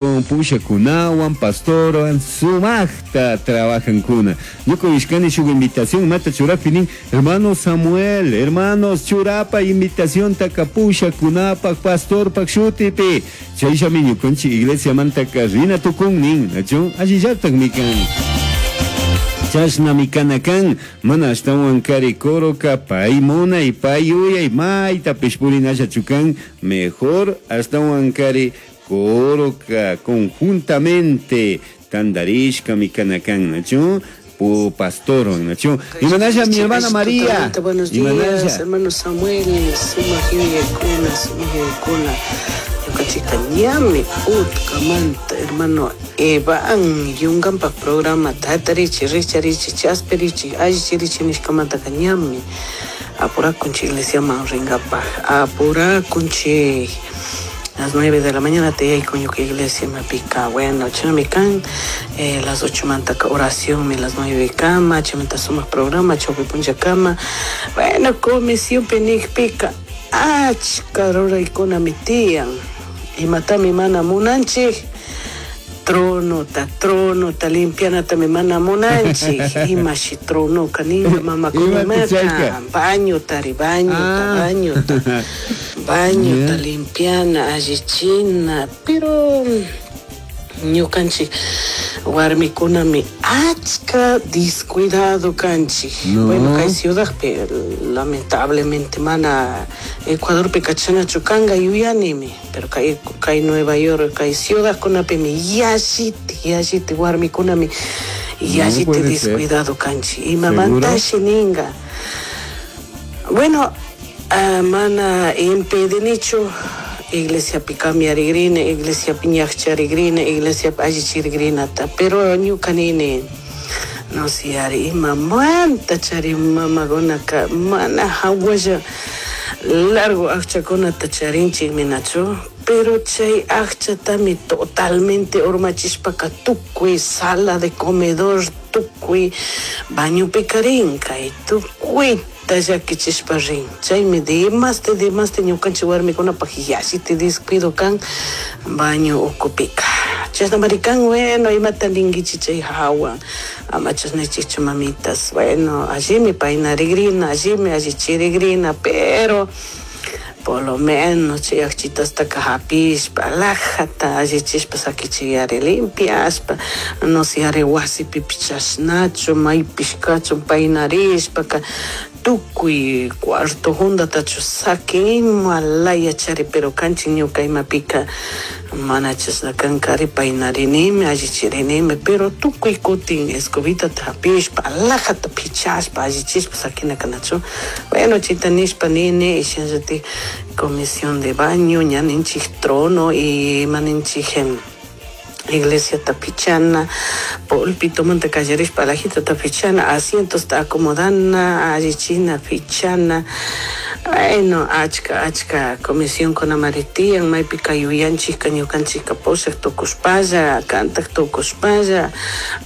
Pushakunawan, pastorwan sumajta trabajankuna. Ñuka uyashkani shuk invitación imata churajpi nin, hermano Samuel, hermanos churapa invitaciontaka pushakunapaj pastorpaj shutipi. Chayllami ñukanchik iglesiamantaka rina tukun nin, nachu? Allillatajmi kan. Chashnami kana kan, mana ashtahuan kari coroka pay munay, pay yuyay, maytapish purinallachu kan, mejor ashtahuan kari coroka conjuntamente tandarishkami kana kan, nachu? Pu pastorwan, nachu? Imanalla mi hermana María. Buenos días, hermano Samuel, sumak yuyaykuna, sumak yuyaykuna. Ñukanchikta ñami utkamanta, hermano Evan Yungampak programa hatarichi, rikcharichi, chaspirichi, allichirichi nishkamantaka ñami apurakunchik iglesiaman rinkapak, apurakunchik. Las 9 de la mañana te yaykun ñuka iglesia mapika, bueno, chashnami kan, las 8 mantaka oraciónmi las 9 kama, chaymanta sumak programa chawpi punllakama, bueno, comisionpi nikpika achka ruraykunami tiyan, imatami mana munanchik, tronota, tronota limpianatami mana munanchik, imashi tronoka ninga mamakunamaka, bañotari, bañota, bañota, bañota limpiana, allichina, pero ñukanchik warmikunami achka descuidado kanchik. Bueno, kay ciudadpi lamentablemente mana Ecuadorpi kachanachu kanka yuyanimi, pero kay, kay Nueva York, kay ciudadkunapimi yalliti, yalliti warmikunami yalliti descuidado kanchik. Imamantashi ninga. Bueno, mana impedinichu iglesiapi cambiarigrini, iglesiapi ñakcharigrini, iglesiapi allichirigrinata, pero ñuka nini, no sé, ari imamanta chari mamakunaka mana hawalla largo akchakunata charinchikmi nachu, pero chay akchatami totalmente urmachishpaka tukuy sala de comedor, tukuy bañopika rin, kay tukuyta llakichishpa rin. Chaymi demaste, demaste ñukanchik warmikunapak yallita descuido kan baño ukupika. Chashnamari kan, bueno, imata ninkichik chay hawa, ama chashnachichu mamitas, bueno, allimi paynarigrina, allimi allichirigrina, pero por lo menos chay akchitastaka hapishpa, alajata allichishpa sakichiyari limpiashpa, no sé, ari wasipipish chashnachu, maypish kachun paynarishpaka, tukuy cuarto jundatachu sakin, ima laya chari, pero kanchik ñuka imapika mana chashna kanka, ari paynarinimi, allichirinimi, pero tukuy kutin escobitata hapishpa, alajata pichashpa, allichishpa sakina kanachu. Bueno, chayta nishpa nini, shinallatik comisión de baño, ña ninchik trono y ima ninchik iglesiata pichana, pulpitomanta kallarishpa alajitata pichana, asientosta acomodana, allichina, pichana. Bueno, achka, achka comisionkunamari tiyan, maypika yuyanchikka ñukanchikka pushak tukushpalla, kantak tukushpalla,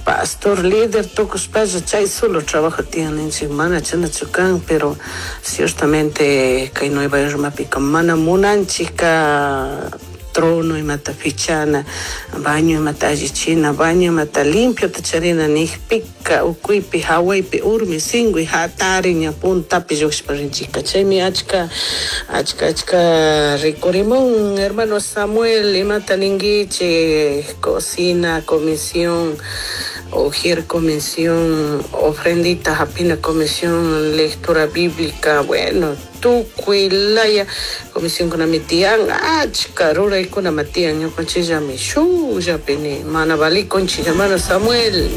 pastor líder tukushpalla, chay solo trabajo tiyan ninchik, mana chanachu kan, pero ciertamente kay Nueva Yorkmapika mana munanchikka trono imata pichana, baño imata allichina, baño imata limpiota charina nikpika, ukuypi, hawaypi, urmi, singui, hatari, ña puntapi llukshpa rinchikka. Chaymi achka, achka, achka rikurimun, hermano Samuel, imata ninkichik, cocina, comisión, ujier comisión, ofrendita hapina comisión, lectura bíblica, bueno, tukuy laya comisionkunami tiyan, achka ruraykunami tiyan, ñukanchikllami shukllapini mana valikunchik, hermano Samuel.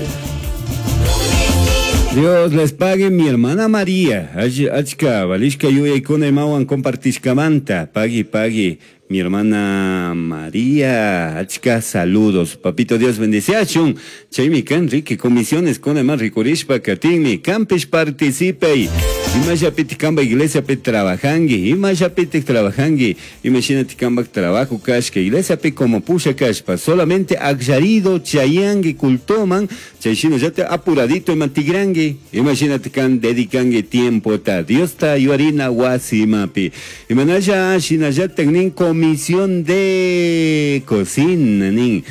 Dios les pague mi hermana María. Achka valishka yuyaykuna imawan compartishkamanta. Pagui, pagui. Mi hermana María, achka saludos. Papito Dios bendeciachun. Chaymi kan Enrique, comisiones con más rikurishpa katinmi. Campish participe. Imashapiti kamba iglesia pe trabajangui. Imashapiti trabajangui. Imagínate kamba trabajo kashka. Iglesia pe como pusha kashpa. Solamente akllarido chayangui cultoman. Chayshina ya te apuradito imantigrangui. Imagínate kan dedicangui tiempo ta. Dios ta yuarina wasimapi. Imanaya shinaya tecnin. Comisión de Cocina nin.